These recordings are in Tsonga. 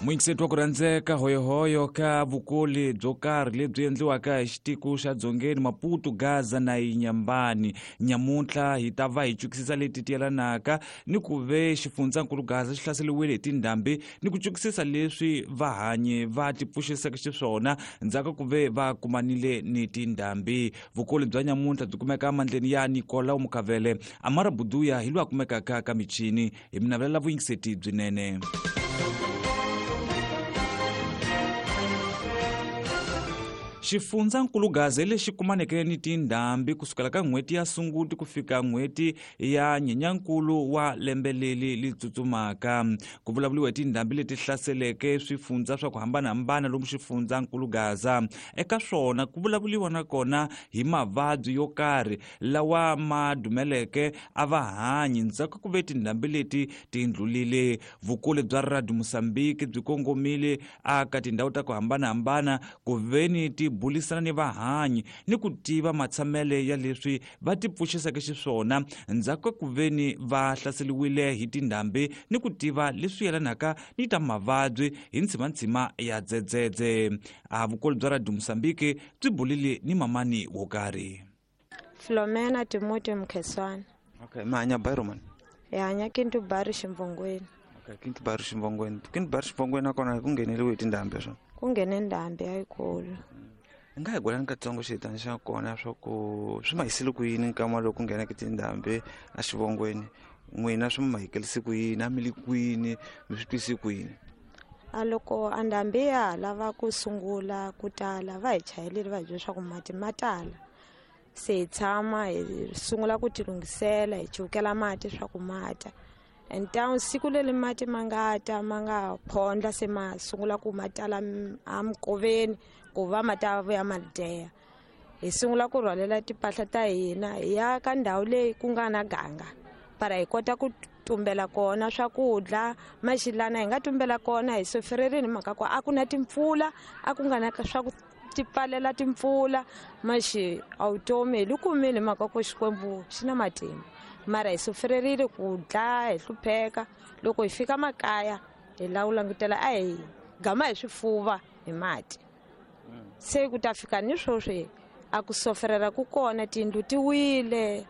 Muyingiseti wa ku rhandzeka, hoyohoyo ka vukoli byo karhi lebyi endliwaka hi xitiko xa Dzongeni, Maputo, Gaza na Inyambani. Nyamuntlha hi ta va hi cukisisa leti ti yelanaka ni ku ve xifundzankulu Gaza xi hlaseriwile hi tindhambi ni ku cukisisa leswi vahanyi va tipfuxiseke xiswona ndzhaku ku ve va kumanile ni tindhambi. Vukoli bya nyamuntlha byi kumeka emandleni ya Nicolau Mukavele. Amara Buduya hi loyi a kumekaka ka michini. Hi mi navelela vuyingiseti byinene. Xifundzankulu Gaza lexi kumaneke ni tindhambi kusukela ka n'hweti ya Sunguti ku fika n'hweti ya Nyenyankulu wa lembe leri li tsutsumaka. Ku vulavuriwa hi tindhambi leti hlaseleke swifundza swa ku hambanahambana lomu xifundzankulu Gaza. Eka swona ku vulavuriwa nakona hi mavabyi yo karhi lawa ma dumeleke a va hanyi ndzhaku ku ve tindhambi leti ti ndlulile. Vukulu bya Radio Mozambique byi kongomile aka tindhawu ta ku hambanahambana ku veni ti bulisana ni vahanyi ni ku tiva matshamele ya leswi va ti pfuxiseke xiswona ndzhaku ka ku veni va hlaseriwile hi tindhambi ni ku tiva leswi yelanaka ni ta mavabyi hi ntshimantsima ya dzedzedze. A vukulu bya Radio Mozambique byi bulile ni mamani wo karhi. Filomena Timothy Mkheswana. Okay, mi hanya Bairro mani? Hi hanya Kintu Bari Ximvongweni. Okay, Kintu Bari Ximvongweni. Kintu Bari Ximvongweni nakona ku ngheneriwe hi tindhambi swona? Ku nghene ndhambi yayikulu. Hi nga hi gwelani katsongo xitani xa kona swa ku swi ma hisile ku yini nkama lowu ku ngheneke tindhambi exivongweni, n'wina swi mi mahikelise ku yini, a mi le kwini, mi swi twise ku yini? A loko a ndhambi ya ha lava ku sungula ku tala va hi chayelile va hi byela leswaku mati ma tala, se hi tshama hi sungula ku tilunghisela hi cukela mati swa ku mata. And town siku leri mati ma nga ta ma nga phondla se ma sungula ku ma tala emikoveni ku va ma ta vuya ma deya, hi sungula ku rhwalela timpahla ta hina hi ya ka ndhawu leyi ku nga na ganga para hi kota ku tumbela kona swakudya maxilana hi nga tumbela kona. Hi sofererini mhaka ku a ku na timpfula, a ku nga na swa ku ti pfalela timpfula maxi a vutomi hi li kumile mhaka ku Xikwembu xi na matimba, mara hi sofererile ku dla hi hlupheka. Loko hi fika makaya hi lava ku langutela a hi gama hi swifuva hi mati, se ku ta fika ni sweswi a ku soferela ku kona, tiyindlu ti wile,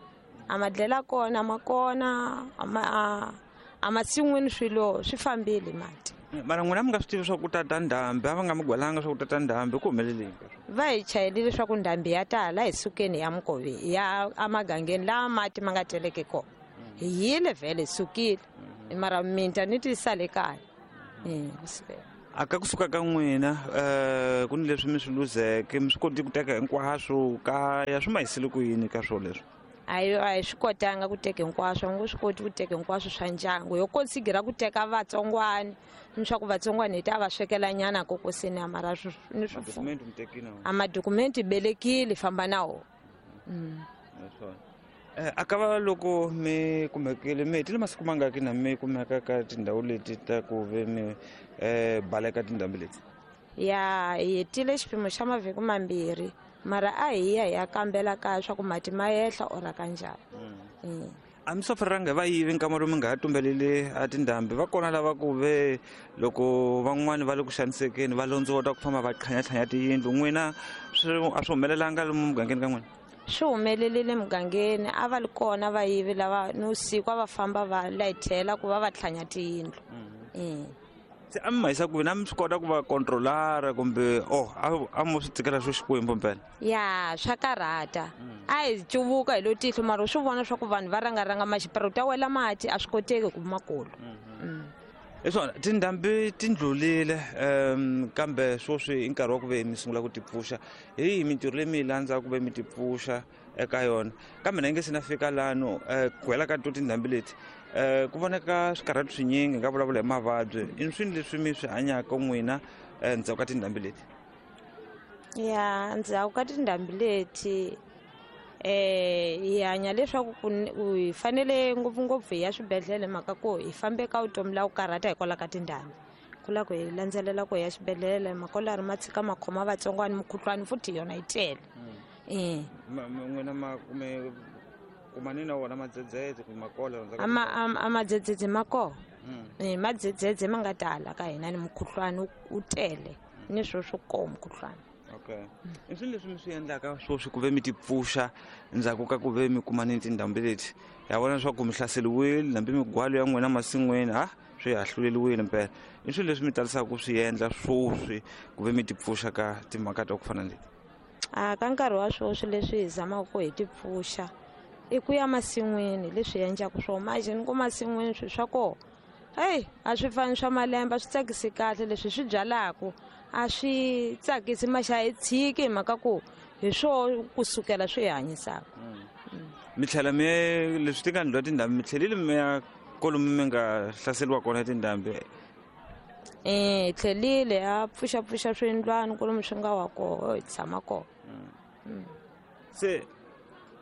a madlela kona ma kona, a masin'wini swilo swi fambile mati. Mara n'wina mi nga swi tivi swa ku tata ndhambi, a va nga mi gwelanga swa ku tata ndhambi, ku humeleleni? Va hi chayelile swa ku ndhambi ya tala, hi sukeni ya mukoveni ya emagangeni laha mati ma nga teleke kona. Hi yile vhele hi sukile, mara minta ni ti sale kaya. A ka kusuka ka n'wina ku ni leswi mi swi luzeke, mi swi koti ku teka hinkwaswo kaya, swi ma hisile ku yini ka swona leswi? A hi swi kotanga ku teka hinkwaswo, a ngo swi koti ku teka hinkwaswo swa ndyangu, ho konsigira ku teka vatsongwana ni swa ku vatsongwana hi ta va swekela nyana kokoseni, a mara ni swi a madokumenti belekile famba na wona. A ka va loko mi kumekile mi hetile masiku mangaki na mi kumeka ka tindhawu leti ta ku ve mi baleka tindhambi leti? Ya, hi hetile xipimo xa mavhiki mambirhi, mara a hi ya hi ya kambela kaya swa ku mati ma yehla or ka njhani. A mi soferanga hi vayivi nkama lowu mi nga ha tumbeleli a tindhambi? Va kona lava ku ve loko van'wani va le ku xanisekeni va londziwa ta ku famba va tlhanyatlhanya tiyindlu, n'wina a swi humelelanga lomu mugangeni ka n'wina? Swi humelelile mugangeni, a va li kona vayivi lava ni vusiku a va famba va layithela ku va va tlhanya tiyindlu. Se a mi ma yisa kwini? A mi swi kota ku va controlara kumbe oh a mo swi tsikela swo Xikwembu mpela? Ya, swa karhata. A hi cuvuka hi lo tihlo, mara u swi vona swa ku vanhu va rangaranga maxipara u ta wela mati, a swi koteki ku makulu. Hi swona, tindhambi ti ndlulile, kambe sweswi i nkarhi wa ku ve mi sungula ku tipfuxa. Hi yihi mintirho leyi mi yi landzaka ku ve mi tipfuxa eka yona? Kambe na yi nge se na fika lano, ku hela ka to tindhambi leti, ku voneka swikarhati swinyingi, hi nga vulavula hi mavabyi. I swini leswi mi swi hanyaka n'wina ndzhaku ka tindhambi leti? Ya, ndzhaku ka tindhambi leti hi hanya leswaku hi fanele ngopfungopfu hi ya swibedhlele, mhaka ku hi fambe ka vutomi la ku karhata hikwalaho ka tindhambi. Ku lava ku hi landzelela ku hi ya xibedhlele, makolari ma tshika ma khoma vatsongwana, mukhuhlwani futhi yona yi tele. N'wina ma kume kumani na wona madzedzedze kumbe makola? A madzedzedze ma kona. Madzedzedze ma nga tala ka hina ni mukhuhlwani wu tele ni swo swo koho mukhuhlwani. Okay. I swilo leswi mi swi endlaka sweswi ku ve mi tipfuxa ndzhaku ka ku ve mi kuma ni tindhambi leti, ya vona leswaku mi hlaseriwile hambi migwalo ya n'wina masin'wini ha swi hahluleliwile mpela. I swilo leswi mi talisaka ku swi endla sweswi ku ve mi tipfuxa ka timhaka ta ku fana na leti? A ka nkarhi wa sweswi leswi hi zamaka ku hi tipfuxa i ku ya masin'wini, leswi hi endlaka swona manje ni ku masin'wini swilo swa kona heyi a swi fani swa malembe, a swi tsakisi kahle leswi swi byalaka a swi tsakisi maxa hi tshiki hi mhaka ku hi swo kusukela swi hi hanyisaka. Mi tlhela mi leswi ti nga ndliwa tindhambi, mi tlhelile mi ya kolomu mi nga hlaseriwa kona tindhambi? Hi tlhelile ha pfuxapfuxa swiyindlwana kolomu swi nga wa koho hi tshama kona. Se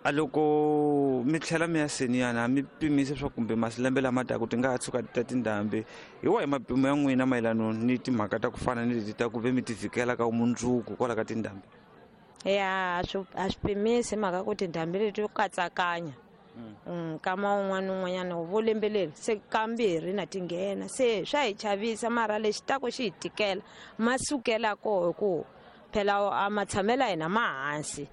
a loko mi tlhela mi ya seniyana mi pimise swa kumbe masilembe lama taka ti nga ha tshuka ti ta tindhambi, hi wahi mapimo ya n'wina mayelana ni timhaka ta ku fana ni leti ta ku ve mi ti vhikela ka vumundzuku kwala ka tindhambi? Ya, a swi pimisi mhaka ku tindhambi leti to katsakanya. Nkama wun'wana un'wanyana vo lembe leri se kambirhi na ti nghena, se swa hi chavisa mara lexi taku xi hi tikela ma sukela koho hi ku phela a matshamelo ya hina ma hansi.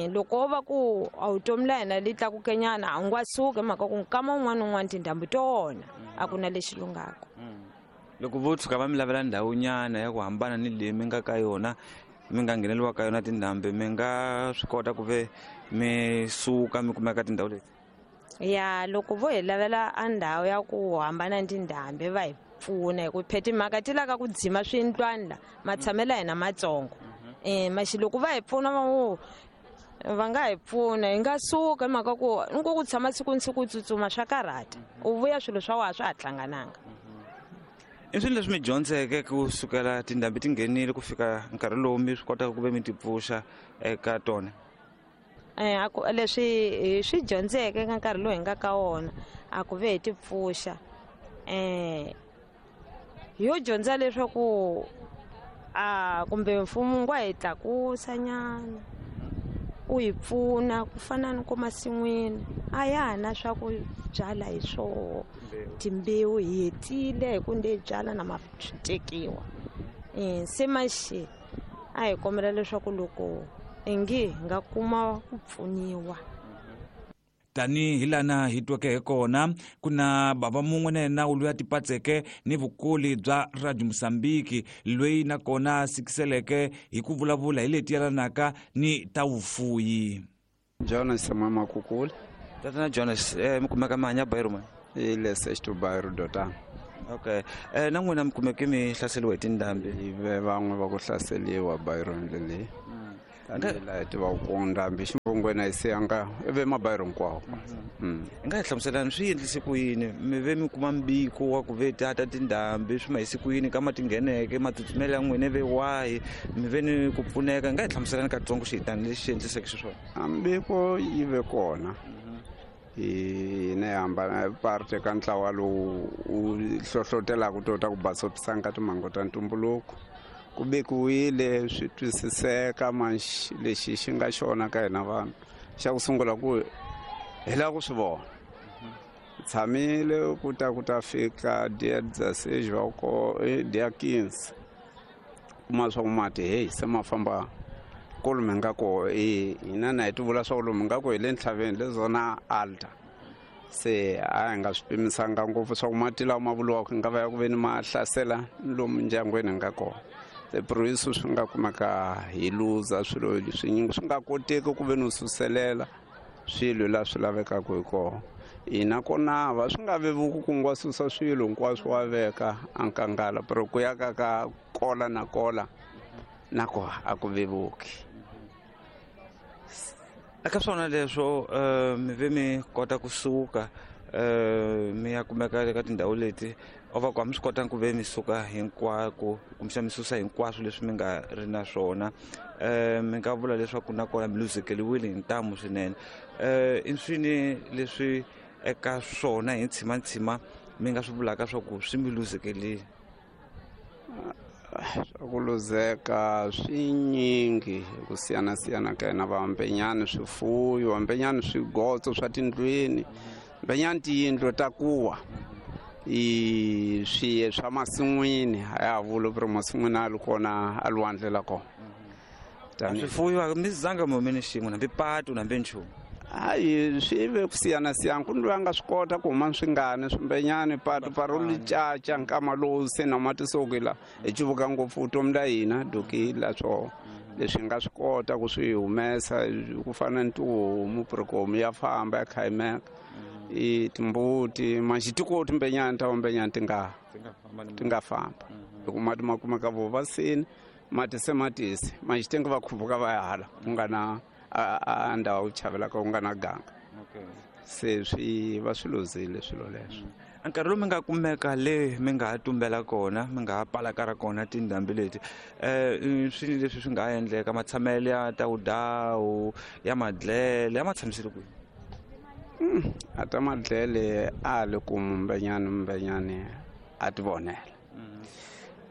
Loko wo va ku a vutomi la hina li tlakuke nyana a wu nga suki hi mhaka ku nkama wun'wana un'wana tindhambi to wona a ku na lexi lunghaka. Loko vo tshuka va mi lavela ndhawu nyana ya ku hambana ni leyi mi nga ka yona, mi nga ngheneliwa ka yona tindhambi, mi nga swi kota ku ve mi suka mi kumeka tindhawu leti? Ya, loko vo hi lavela a ndhawu ya ku hambana ni tindhambi va hi pfuna hi ku phe timhaka ti lava ku dzima swiyindlwana la matshamelo ya hina matsongo. Maxi loko va hi pfuna va ngo va nga hi pfuna hi nga suka hi mhaka ku ni ku tshama siku ni siku u tsutsuma swa karhata, u vuya swilo swa wena swa ha hlangananga. I swilo leswi mi dyondzeke kusukela tindhambi ti nghenile ku fika nkarhi lowu mi swi kotaka ku ve mi tipfuxa eka tona? A ku leswi hi swi dyondzeke ka nkarhi lowu hi nga ka wona a ku ve hi tipfuxa, hi yo dyondza leswaku a kumbe mfumo wu nga hi tlakusa nyana u hi pfuna ku fana ni ku masin'wini a ya ha na swa ku byala hi swoho timbewu hi hetile hi ku nde hi byala na ma swi tekiwa. Se maxi a hi kombela leswaku loko ingi hi nga kuma ku pfuniwa. Tanihi lana hi tweke hi kona, ku na bava mun'we na yena loyi a tipatseke ni vukuli bya Radio Mozambique, loyi nakona a sikiseleke hi ku vulavula hi leti yelanaka ni ta vufuyi. Jonas Samuel Makukula. Tatana Jonas, mi kumeka mi hanya bairro mani? I le Sexto Bairro Dotana. Okay. Na n'wina mi kumeke mi hlaseriwa hi tindhambi? Hi ve van'we va ku hlaseriwa bairroni leyi. Tanihi laha hi tivaka ku ndhambi xivongweni a yi siyanga i ve mabairro hinkwawo. Hi nga hi hlamuselani swi endlise ku yini mi ve mi kuma mbiko wa ku ve tata tindhambi swi ma hise ku yini ka ma ti ngheneke matsutsumelo ya n'wina ve wahi mi ve ni ku pfuneka? Hi nga hi hlamuselani katsongo xihitani lexi xi endliseke xiswona? A mbiko yi ve kona, hina hi hambana parte ka ntlawa lowu wu hlohlotelaka to ta ku basopisa ka timhangu ta ntumbuluko. Ku vekiwile swi twisiseka manxi lexi xi nga xona ka hina vanhu, xa ku sungula ku hi lava ku swi vona. Tshamile ku ta ku ta fika dia dezesseis va ko dia quinze, kuma swa ku mati hey se ma famba kolomu hi nga koho. Hina na hi ti vula swa ku lomu hi nga koho hi le ntlhaveni le zona alta, se a hi nga swi pimisanga ngopfu swa ku mati lawa ma vuriwaka nga va ya ku ve ni ma hlasela lomu ndyangwini hi nga kona. Se puriso swi nga kumeka hi luza swilo swinyingi, swi nga koteki ku ve ni u suselela swilo laha swi lavekaka hi kona. Hina kona va swi nga vevuki ku nga susa swilo hinkwaswo wa veka a nkangala, pero ku ya ka ka kola na kola na ko a ku vevuki. Eka swona leswo, mi ve mi kota kusuka, mi ya kumeka eka tindhawu leti o va ku a mi swi kotanga ku ve mi suka hinkwako kumbexana mi susa hinkwaswo leswi mi nga ri na swona, mi nga vula leswaku nakona mi luzekeriwile hi ntamu swinene. I swini leswi eka swona hi ntshimantshima mi nga swi vulaka swa ku swi mi luzekerile? Swa ku luzeka swinyingi hi ku siyanasiyana ka hina va mbenyani swifuyo, mbenyani swigotso swa tindlwini, mbenyani tiyindlu ta kuwa. I swiye swa masin'wini a ya ha vuli ku ri masin'wini a li kona a lwandle la kona. Swifuyo mi zanga mi hume ni xin'we, hambi patu hambi nchumu? Hayi, swi ve ku siyana-siyana. Ku ni loyi a nga swi kota ku huma swingani swimbenyani patu paro li caca nkama lowu se na mati sokila hi cuvuka ngopfu vutomi la hina dukila swo leswi hi nga swi kota ku swi humesa, ku fana ni tihomu, purikomu ya famba ya khayimeka, i timbuti manxi tikoti mbenyani ta mbenyani ti nga famba hi ku mati ma kumeka vo vasini mati se matisi manxi ti nga va khupuka va ya hala ku nga na a ndhawu ku chavelaka ku nga na ganga, se swi va swi luzile swilo leswo. Nkarhi lowu mi nga kumeka le mi nga ha tumbela kona, mi nga ha palakara kona tindhambi leti, swini leswi swi nga ha endleka, matshamelo ya tawudawu ya madlele ya ma tshamisile kwihi? A ta madlele a le ku mumbenyani mumbenyani a ti vonela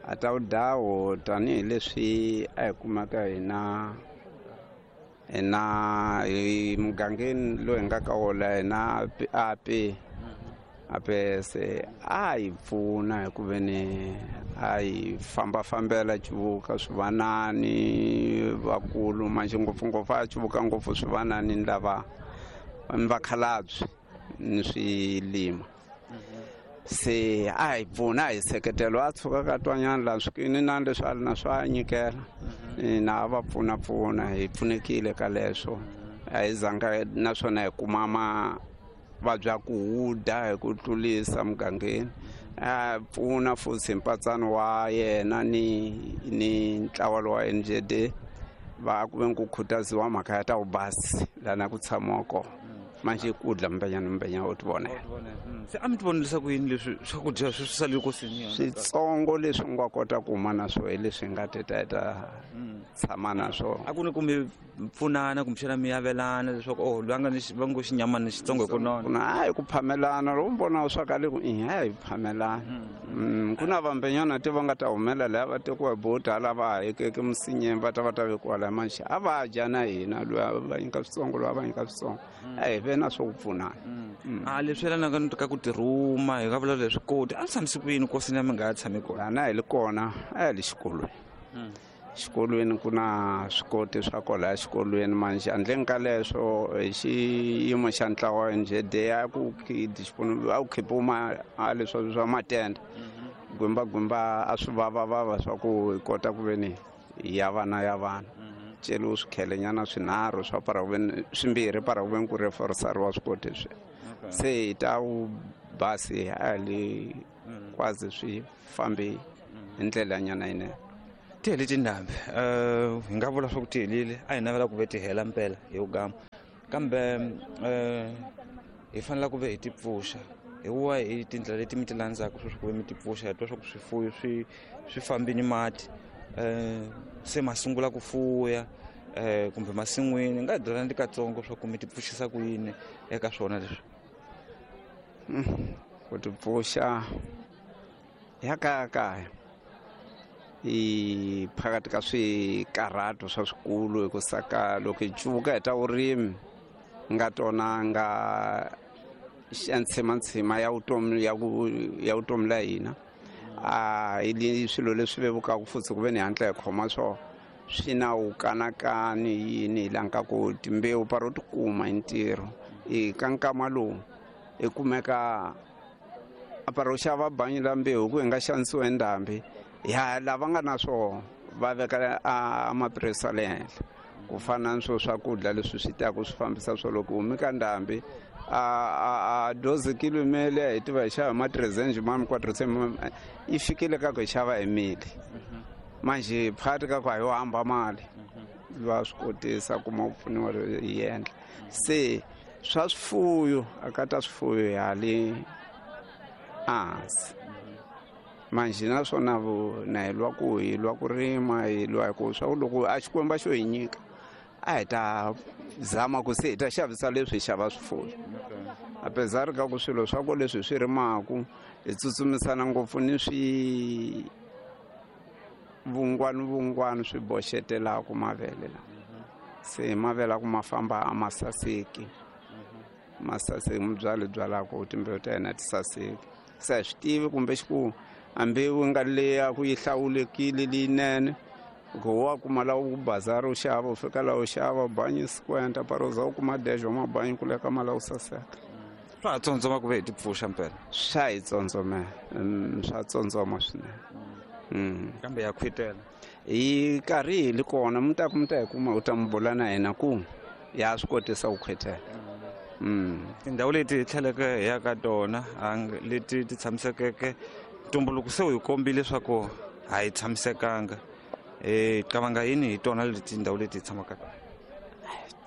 a tawudawu, tanihileswi a hi kumeka hina hina hi mugangeni lowu hi nga ka wona hina ape ape, se a hi pfuna hi ku ve ni a hi fambafambela cuvuka swivanani vakulu manjhe ngopfungopfu a cuvuka ngopfu swivanani ni lava ni vakhalabye ni swilima, se a hi pfuna, a hi seketelo, a tshuka ka twanyana laha swikini na leswi a ri na swo a nyikela na a va pfunapfuna, hi pfunekile ka leswo. A hi zanga naswona hi kuma mavabyi ya ku huda hi ku tlulisa mugangeni. A pfuna futhi mpatsano wa yena ni ntlawa lowa NJD va ku ve ku khutaziwa mhaka ya ta vubasi lana ku tshamiwa kona manje ku dla mbenyana mbenyana u ti vonela. Se a mi ti vonelisa ku yini leswi swakudya swi sale kosini? Switsongo leswi u nga kota ku huma na swo hi leswi hi nga teta hi ta tshama na swona. A ku ni ku mi pfunana kumbexana mi avelana leswaku oh, loyi a nga ni va ngo xinyamana xitsongo hi ku nona? Na a hi ku phamelana loko mi vona swa ka le ku i a hi phamelana. Ku na vambenyana ti va nga ta humela laha va tekiwa hi boti hala va hekeke misinyeni va ta va ta vekiwa laha manjhe a va dya na hina, loyi a va nyika switsongo, loyi a va nyika switsongo, a hi ve na swo ku pfunana. A leswi yelanaka ni ka ku tirhuma, hi nga vula leswi koti a ni tshamisi ku yini kosini ya mi nga ha tshami kona? Lana hi li kona a hi le xikolweni. Xikolweni ku na swikoti swa kwalaya xikolweni manjhe handleni ka leswo hi xiyimo xa ntlawa NJD a ku a ku khipiwa a leswa swa matende gwimba a swi vavavava swa ku hi kota ku ve ni ya vana ya vana celiwe swikhelenyana swinharhu swa para ku ve ni swimbirhi para ku ve ni ku reforsariwa swikoti swi se hi ta basi a li kwazi swi fambi hi ndlela nyana yinene. Ti hele tindhambi, hi nga vula swa ku ti helile, a hi navela ku ve ti hela mpela hi gama, kambe hi fanele ku ve hi ti pfuxa hi wa hi tindlela leti mi ti landzaka sweswi ku ve mi ti pfuxa. Hi twa swa ku swifuyo swi fambini mati, se ma sungula ku fuya kumbe masin'wini, nga hi byela ni katsongo swa ku mi ti pfuxisa ku yini eka swona leswi? Ku ti pfuxa ya kaya kaya i phakathi ka swikarhato swa swikulu, hi ku saka loko hi cuvuka hi ta vurimi nga tona nga ntshima ya vutomi ya ku ya vutomi la hina, a hi swilo leswi vevukaka futhi ku ve ni hatla hi khoma swona swi na wukanakani yini hi lanka ku timbewu paro ti kuma hi ntirho i ka nkama lowu hi kumeka a paro xava bangi la mbewu ku hi nga xanisiwa hi ndhambi ya lava nga na swona va veka a mapurasi ya le henhla ku fana ni swo swakudya leswi swi taka swi fambisa swo loko humi ka ndhambi a doze kilo mele hi tiva hi xava hi ma 300 mami 400 yi fikile ka ku hi xava hi mili manje phakathi ka ku a yo hamba mali va swi kotisa kuma ku pfuniwa hi endla se swa swifuyo a ka ta swifuyo hali ehansi manje naswona na hi lwa ku hi lwa ku rima hi lwa hi ku swa ku loko a Xikwembu xo hi nyika a hi ta zama ku se hi ta xavisa leswi hi xava swifuyo, apesar ka ku swilo swa ku leswi hi swi rimaku hi tsutsumisana ngopfu ni swi vungwani vungwani swi boxetelaku mavele la se mavele a ku ma famba a ma saseki, ma saseki mubyali byalaku timbewu ta yena ti saseki. Se a swi tivi kumbe xiku a mbewu nga leya ku yi hlawulekile leyinene ku wa kuma la u bazari u xava u fika la u xava banyi 50 paroza u kuma dejo mabanyi ku leka mala u saseka. Swa ha tsondzoma ku ve hi ti pfuxa mpela? Swa hi tsondzomela, swa tsondzoma swinene. Kambe ya khwitela hi karhi hi li kona mi ta ku mi ta hi kuma u ta mi bula na hina ku ya swi kotisa ku khwitela. Tindhawu leti hi tlheleke hi ya ka tona leti ti tshamisekeke ntumbuluko se wu hi kombile leswaku a hi tshamisekanga. Qavanga yini hi tona leti tindhawu leti hi tshamaka ka?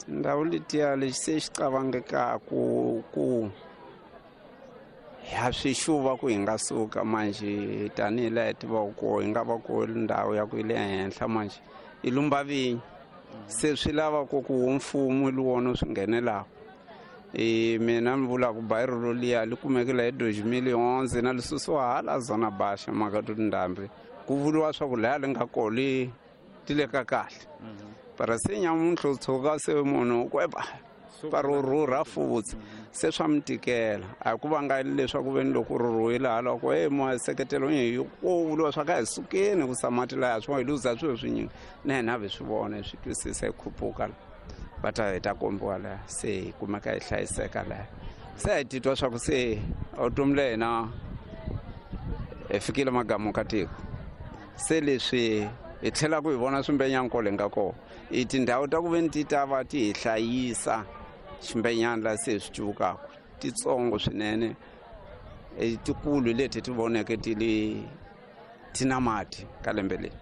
Tindhawu letiya lexi se xi qavangekaku ku ha swi xuva ku hi nga suka manjhe tanihi laha hi tivaka koho hi nga va ko ndhawu ya ku yi le henhla manjhe i lumba vinyi se swi lava ku ku mfumo li wona swi nghenelaka. Mina ni vula ku bayiro loliya li kumekile hi 2011 na li susiwa hala zona baxa mhaka to tindhambi ku vuriwa swa ku laya li nga koho li ti le ka kahle. Para se nyamuntlha u tshuka se munhu ku epa para rhurha futhi se swa mi tikela a ku vanga leswaku veni loko rhurhiwile hala ku e maseketelo hi ku vuriwa swa ka hi sukeni ku samati laya swo hi luza swilo swinyingi na hina hi swi vona hi swi twisisa hi khupuka va ta hi ta kombiwa laha se hi kumeka hi hlayiseka laha se hi titwa swa ku se vutomi la hina hi fikile magamu ka tiko se leswi hi tlhela ku hi vona swimbenyankole hi nga kona i tindhawu ta ku veni ti ta va ti hi hlayisa ximbenyana laha se hi swi cuvukaka titsongo swinene tikulu leti ti voneke ti li ti na mati ka lembe leri.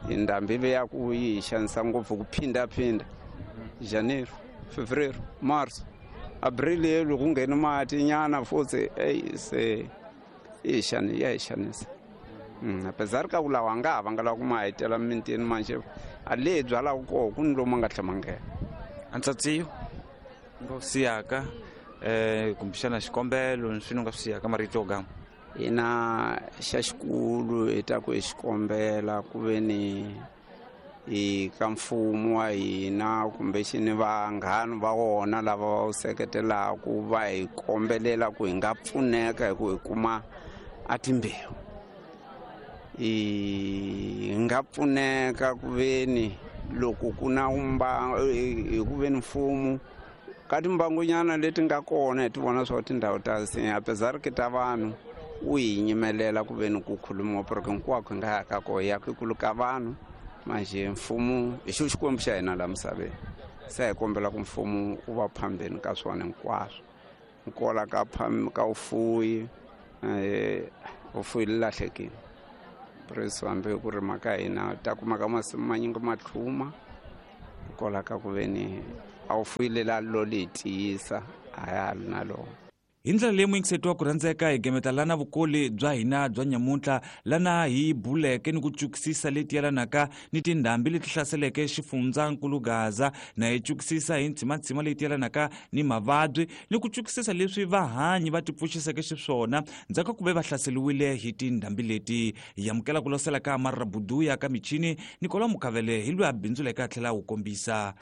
Ndhambi ve ya ku yi hi xanisa ngopfu ku phindaphinda Janeiro, Fevereiro, Marso, Abril loko ku ngheni mati nyana futhi eyi se yi hi ya hi xanisa. Apesar ka ku lawa nga ha vanga lava ku ma hetela mimitini manjhe a le hi byalaka koho ku ni lomu a nga tlhela ma nghena. Antsatsiyo nga wu siyaka kumbexana xikombelo ni swini u nga swi siyaka marito yo gama? Hina xa xikulu hi ta ku hi xikombela ku ve ni hi ka mfumo wa hina kumbexini vanghana va wona lava va wu seketelaka va hi kombelela ku hi nga pfuneka hi ku hi kuma a timbewu. Hi nga pfuneka ku veni loko ku na hi ku veni mfumo ka timbangonyana leti nga kona hi ti vona swa tindhawu ta apesar ki ta vanhu u hi nyimelela ku veni ku khulumiwa porque hinkwako hi nga ya ka koho ya ku kulu ka vanhu manjhe mfumo hi xo xikwembu xa hina laha misaveni se hi kombela ku mfumo wu va phambeni ka swona hinkwaswo nkola ka ka vufuwi vufuwi li lahlekile preso hambi ku rima ka hina ta kuma ka masimu manyingi ma tlhuma kola ka ku veni a wu fuyile la lo li tiyisa a ya ha ri na lona. Hi ndlela leyi muyingiseti wa ku rhandzeka hi gemeta lana vukoli bya hina bya nyamuntlha lana hi buleke ni ku cukisisa leti yelanaka ni tindhambi leti hlaseleke xifundzankulu Gaza na hi cukisisa hi ntshimatshima leti yelanaka ni mavabyi ni ku cukisisa leswi vahanyi va tipfuxiseke xiswona ndzhaku ka ku ve va hlaseriwile hi tindhambi leti. Hi amukela ku losela ka Marra Buduya ka michini Nicolas Mukavele hi loyi a bindzuleke a tlhela a wu kombisa.